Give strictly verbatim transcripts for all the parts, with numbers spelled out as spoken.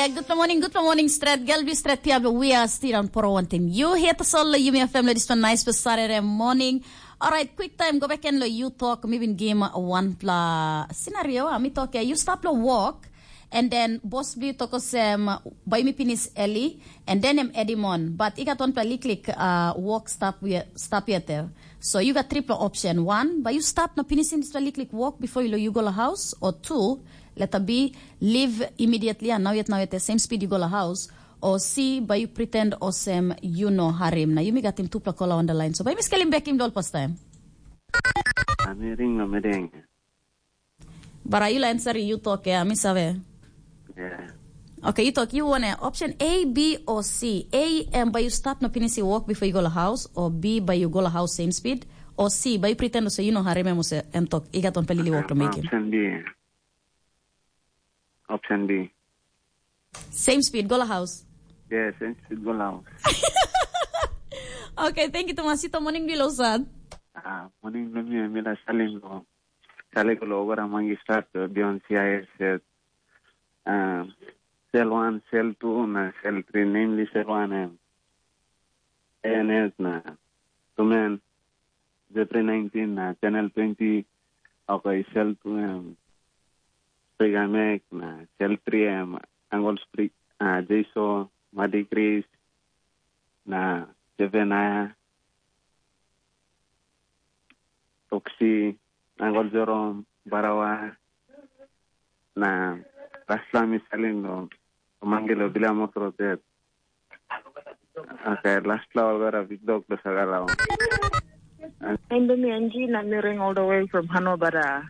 Good morning, good morning, stret. Gelbi stret pia be we are still on poro wanting. You here to solve the Yumi family this one nice for Saturday morning. All right, quick time, go back and lo you talk, mi bin game one pla scenario, mi talk, you stop lo walk, and then boss blue tokos um, by me pinis Ellie, and then em Edimon. But I got one pla liklik uh, walk stop we stop yet there. So you got triple option. One, but you stop no finishing this pla liklik walk before you, you go to house, or two, letter B, leave immediately and now yet now yet the same speed you go to house, or C, by you pretend osem you know harim. Na yumi got him tupla kola on the line. So by me scaling back him doll first time. Amiring no medeng. Bara you answer you talk ya, mi save. Yeah. Okay, you talk you want option A, B or C. A, um, but you stop no finishing walk before you go to house, or B, but you go to house same speed, or C, but you pretend to say you know harim em ose em talk. You got one pelili walk to make him. Option B. Option B. Same speed, go to house. Yeah, same speed, go to house. Okay, thank you, Tomasito. Morning, Bilo Sad. Ah, morning, Lumia, Mila Salim, go. Sale ko lo ogara mangi start to be on C I S set. Um, cell one, cell two, na cell three, namely cell one, um, A N S na Tumen, Jeffrey nineteen na Channel twenty, okay, cell two, um, Sprigamek na cell three, um, Angol Sprig, uh, Jason, Madi Chris, na Seven Aya, Toksi, Angol Jerome, Barawa, na lastla mi salim lo mangilo bila mokro det. Okay, lastla olgara big dog do sagala. Endo mi Angie na mi ring all the way from Hanobara.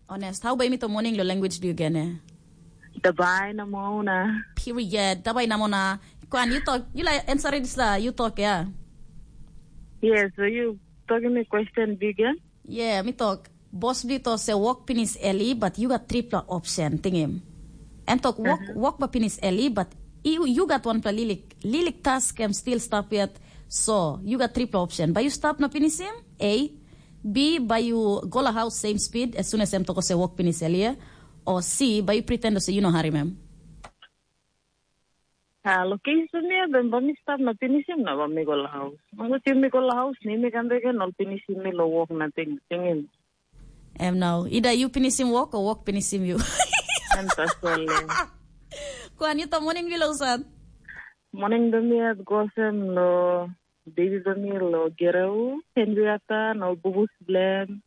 Honest, how by me to morning lo language do you gene? Dabai na mona. Period. Dabai na mona. Kwan, you talk, you like answer this la, you talk, yeah. Yes, so you talking me question big, yeah? Yeah, mi talk. Boss Blito se work pinis early, but you got triple option, ting him. And talk work, work ba pinis early, but you, you got one pla lilik. Lilik task em still stop yet. So, you got triple option. Ba you stop na pinis him? A. B, ba you go la house same speed as soon as em toko se work pinis early, yeah? Or C, ba you pretend to say you know harim em. Ah, lo case tu mi ben ba mi stap na pinisim na ba mi go la haus. Mangut yumi go la haus ni mi kam beken ol pinisim mi lo wok nating tingin. Em nau, ida you pinisim work or work pinisim you. Em tasol. Kuan you ta morning bilo usat. Morning do mi at gosem lo baby do mi lo gereu Henrietta no bubus blem.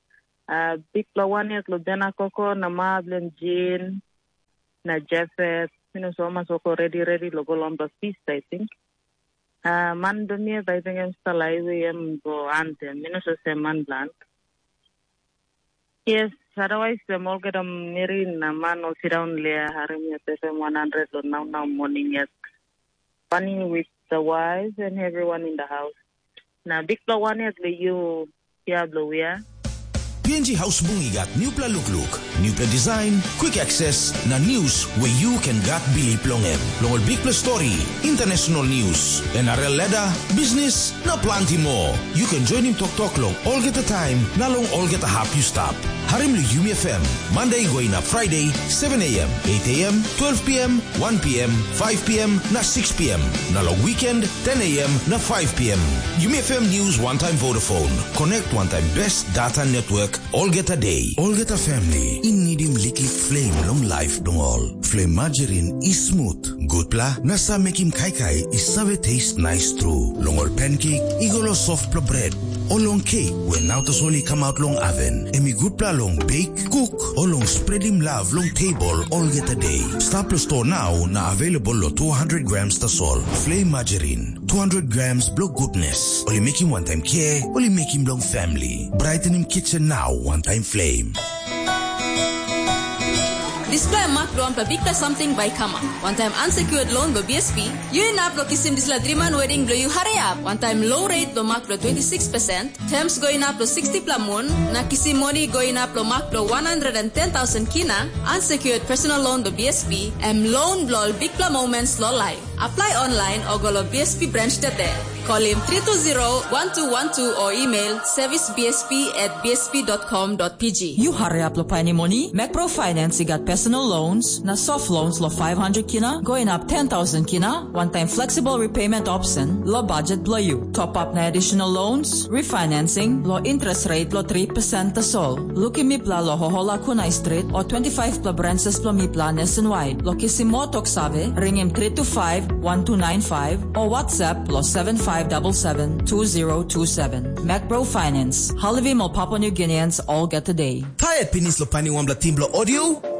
Uh, big lo one yet lo Bena Koko na ma blem Jean. Na Jafet, mi no so mas wok redi redi lo go long the feast, I think. Uh, man do mi, I think em stala iwe em go antem, mi no so se man bland. Yes, otherwise em olgeta meri na man ol sit down lea harim yet F M one hundred lo nau nau morning yet. Funny with the wife and everyone in the house. Na bikpela wan yet lo you, ya blo wia. P N G Haus Bung i gat nupela lukluk, nupela design, quick access, na news where you can gat bilip long em. Long ol bikpela story, international news, N R L ladder, business, na planti more. You can join him toktok long olgeta time, na long olgeta hap you stap. Harim lo Yumi F M, Monday going up Friday, seven a.m., eight a.m., twelve p.m., one p.m., five p.m., na six p.m. Na long weekend, ten a.m. na five p.m. Yumi F M News one time Vodafone. Connect one time best data network olgeta day. Olgeta family, i nidim liklik flame long life dong ol. Flame margarine i smooth, gutpela, na sa mekim kaikai i save taste nice tru. Long ol pancake, i go lo softpela bread. O long cake, we nau tasol i come out long oven. Em i gutpela long bake, cook, o long spreadim love long table olgeta day. Stap lo store now na available lo two hundred grams tasol. Flame margarine, two hundred grams blo goodness. Oli mekim one time care, oli mekim long family. Brightening kitchen now, one time flame. Dispela mak bilong wanpela bikpela samting bai i kamap. Wantaim unsecured loan bilong B S P, yu inap long kisim dispela driman wedding bilong yu hariap. Wantaim low rate bilong mak bilong twenty six percent, terms go inap long sixty pela mun, na kisim moni go inap long mak bilong one hundred and ten thousand kina, unsecured personal loan bilong B S P, em loan bilong ol bikpela moments long life. Apply online o go lo B S P branch tete. Call him three two zero one two one two or email service B S P at B S P dot com dot P G. You hurry up lo painim moni. Macro Finance i gat personal loans na soft loans lo five hundred kina, going up ten thousand kina, one time flexible repayment option lo budget blo you. Top up na additional loans, refinancing lo interest rate lo three percent tasol. Lukim mipla lo Hohola Kunai Street o twenty-five pla branches blo mipla nationwide. Lo kisim mo tok save, ringim three two five one two nine five o WhatsApp lo seven five double seven two zero two seven. Macro Finance, halivim ol Papua New Guineans olgeta day. Tired pinis lo painim wanpela team blo audio?